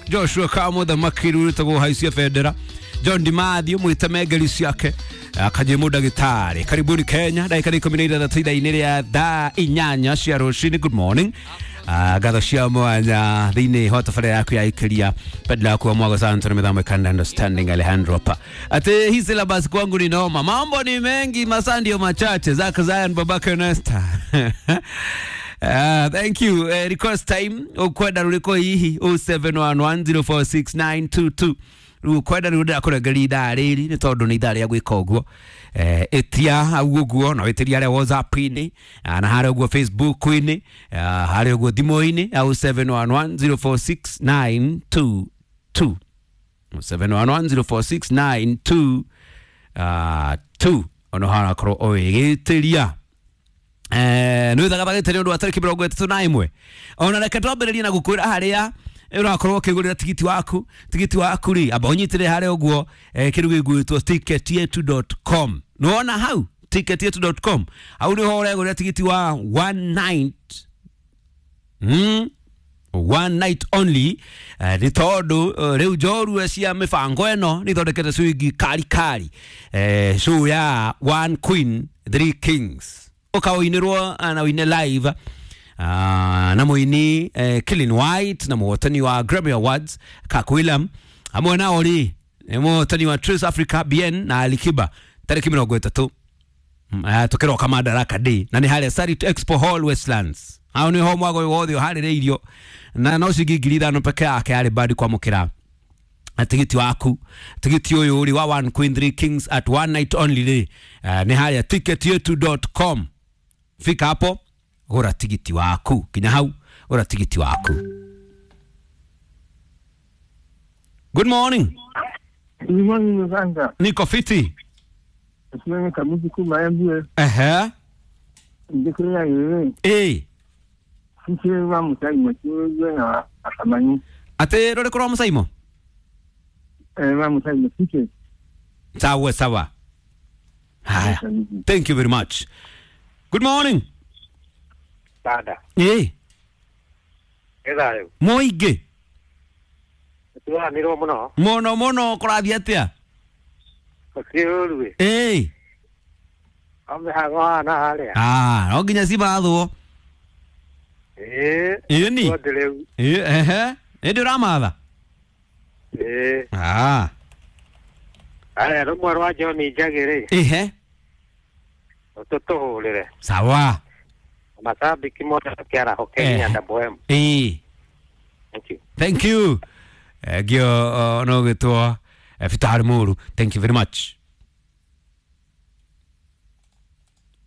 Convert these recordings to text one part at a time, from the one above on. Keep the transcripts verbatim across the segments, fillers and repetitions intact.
Joshua Kamutha Makiru wĩtagwo haicia bendera John Dimathio mwĩte mengeri ciake akajĩ ndagĩtarĩ. Karibuni Kenya, ndagĩka nĩ ikũmi na ithathatũ ithaa-inĩ rĩa thaa inyanya cia rũcinĩ. Good morning. Ah, ngatho cia mwanya thĩinĩ wa tabarĩra yaku ya ikiria pedla yaku wa mwago santo na mĩthamo ikanda understanding Alejandro pa ati hii syllabus kwangu ni noma, mambo ni mengi, masaa ndio machache. Zak Zion babake Nesta. Uh, thank you. Uh, request time ukwenda ruriko hihi oh seven one one zero four six nine two two riu kwenda riu ndirakurengeria ithaa riri ni tondu ni ithaa ria gwika uguo. Eh, itia hau uguo no itiria haria WhatsApp-ini na haria uguo Facebook-ini haria uguo thimũ-inĩ au seven one one zero four six nine two two seven one one zero four six nine two two ono harakorwo ũgĩgĩtĩria. Eh, nĩ wĩthagathagĩte nĩ ũndũ wa tarĩki mĩrongo ĩtatũ na ĩmwe. Ona reke twambĩrĩrie na gũkwĩra harĩa ũrakorwo ũkĩgũrĩra tigiti waku. Tigiti waku rĩ, amba ũnyitĩre harĩa ũguo eh, kĩndũ gĩgwĩtwo ticket yetu dot com. Nĩwona hau ticket yetu dot com, hau nĩho ũregũrĩra tigiti wa one night, mm? one night only. Eh, nĩ tondũ rĩu njorua cia mĩbango ĩno nĩ ithondekete ciringi kari kari, eh, show ya one queen three kings ũkaũinĩrwo na ũine live uh, na mũini eh, Killing White na mũhotani wa Grammy Awards Kak William hamwe nao rĩ nĩ mũhotani wa Trace Africa B N na Alikiba tarĩki mĩrongo ĩtatũ uh, tũkĩroka Madaraka Day na nĩ harĩa Sarit Expo Hall Westlands. Hau nĩho mwago ũyũ wothe ũharĩrĩirio na no ciringi ngiri ithano peke yake yarĩ badi kwamũkĩra tigiti waku. Tigiti ũyũ rĩ wa one queen three kings at one night only rĩ uh, nĩ harĩa ticket yetu dot com. Fika hapo gura tigiti waku, kinya hau gura tigiti waku. Good morning. Good morning Muganga. Niko fiti. Tunaye kamuzi kuma M B. Ehe. Ndikira yeye. Eh. Sisi wa musaimo tuwe na akamani. Ate rore kora musaimo? Eh, wa musaimo sisi. Sawa sawa. Haya. Thank you very much. Good morning. Dada. Eh. Ethayo. Moige. Turanirwo muno. Muno muno kurathi atia? Gũtirĩ Eh. Ame hago na haria. Ah, no nginya cimathwo. Eh. Ĩni. Rĩu. Eh, ehe. Ĩndĩ ũramatha? Eh. Ah. Aya rũmwe rwa John Njagi rĩ. Ehe. Tũtũhũrĩre. Sawa. Mashabiki mothe kĩaraho Kenya W M. Eh. Thank you. Thank you. Gio no gĩtwo Fitari Muru. Thank you very much.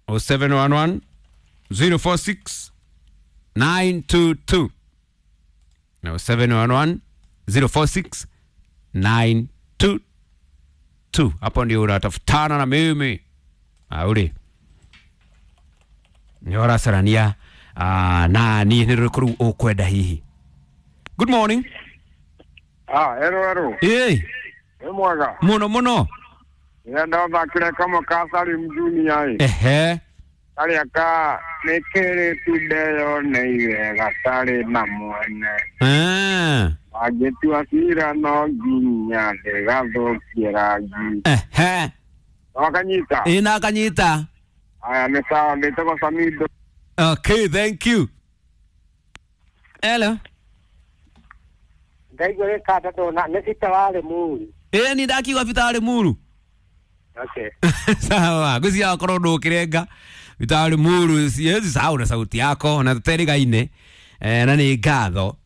oh seven one one zero four six nine two two. No, seven one one zero four six nine two two. Hapo ndio unatafutana na mimi. Auri. Nyora sarania ah na ni nĩ ukwenda hihi. Good morning. Ah, hello hello. Eh. Ni mwaga. Muno muno. Nenda thakire kama kasari mjuni Ehe. Karĩa ka nĩ kĩrĩ tundeyoneire gatarĩ na mwene. Ah. Angĩtua cira no nginya ndĩgathũkie rangi. Ehe. Wakanyita? Ĩ nakanyita. Aya nĩ sawa, ndĩtagwo Samido. Okay, thank you. Hello. Ndaigua gĩkanda ndona nĩ cita warĩ muru. Ĩ ni ndakiuga Fitari Muru. Okay. Sawa, ngwĩciria wakorwo ndũkĩrenga Fitari Muru siwezi sahau na sauti yako na tũterigaine eh, na nĩ ngatho.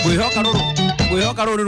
Ngwĩhoka rũrũ ngwĩhoka rũrũ.